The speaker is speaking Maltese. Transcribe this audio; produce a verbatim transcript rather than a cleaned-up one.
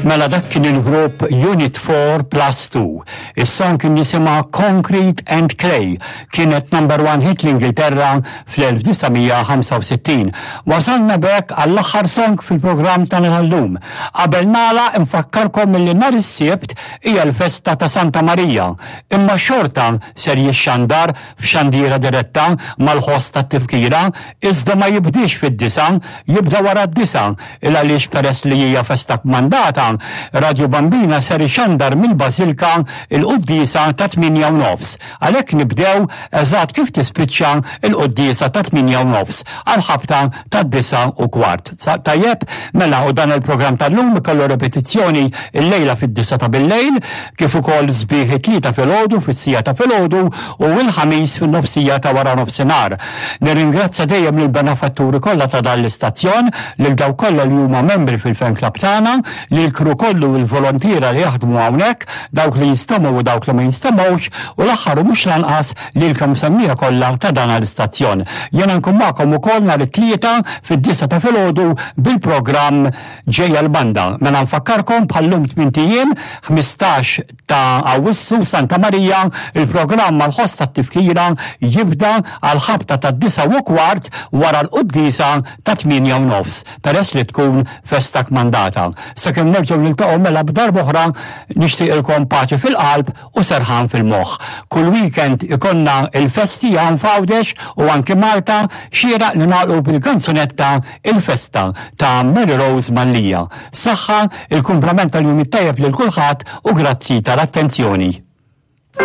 Mela dak kien il-grupp Unit four plus two. Is-song kien jisimha Concrete and Clay. Kienet number one hit l-Ingilterra fl-elf disa' mija ħamsa u sittin. Wasalna b'hekk għall-aħħar song fil-programm tagħna tal-lum. Qabel nagħlaq infakkarkom milli nhar is-Sibt hija l-festa ta' Santa Marija. Imma xorta ser jixxandar f'xandira diretta mal-ħoss tat-tifkira, iżda ma jibdiex fid-disa, jibda wara d-disa, il għaliex peress li hija festa kmandata, Radio Bambina ser ixandar mill-Bażilka il-quddiesa ta' tmienja u nofs. Għalhekk nibdew eżatt kif tispiċċa il-quddiesa ta' tmienja u nofs għal ħabta ta' disa u kwart. Sa-, tajjeb, mela u dan il-programm tal-lum ikollu repetizzjoni il-lejla fid-disa ta' bil-lejl, kif ukoll sbieħ it-tlieta filgħodu fis-sija ta' filgħodu u l-ħamis fin-nofsija ta' wara nofsinhar. Nirringrazzja dejjem lill-benefatturi kollha ta' dan l-istazzjon, lil dawk kollha li huma membri fil-fan club tagħna, lil kru kollu u l-volontiera li jaħdmu hawnhekk, dawk li jistemgħu u dawk li ma jistemgħux, u l-aħħar u mhux lanqas lilkom semmija kollha ta' dan l-istazzjon. Jiena nkun magħkom ukoll nhar it-Tlieta fid-disa ta' filgħodu bil-programm Ġejja l-Banda. Mela nfakkarkom bħallum tmint ijiem, ħmistax ta' Awwissu, Santa Marija, il-programm mal-ħoss tat-tifkira jibda għal ħabta ta' disa u kwart wara l-quddiesa ta' tmienja u nofs, peress li tkun festa kmandata. Sakemm nerġgħu niltaqgħu mela b'darb'oħra, nixtieqilkom paċi fil-qalb u serħan fil-moħħ. Kull weekend ikonna il-festi hawn f'Għawdex u anke Malta, xieraq li nagħlqu bil-kanzunetta Il-Festa ta' Mary Rose Mallia. Saħħa, il-kumplament tal-jum it-tajjeb lil kulħadd u grazzi tal-attenzjoni.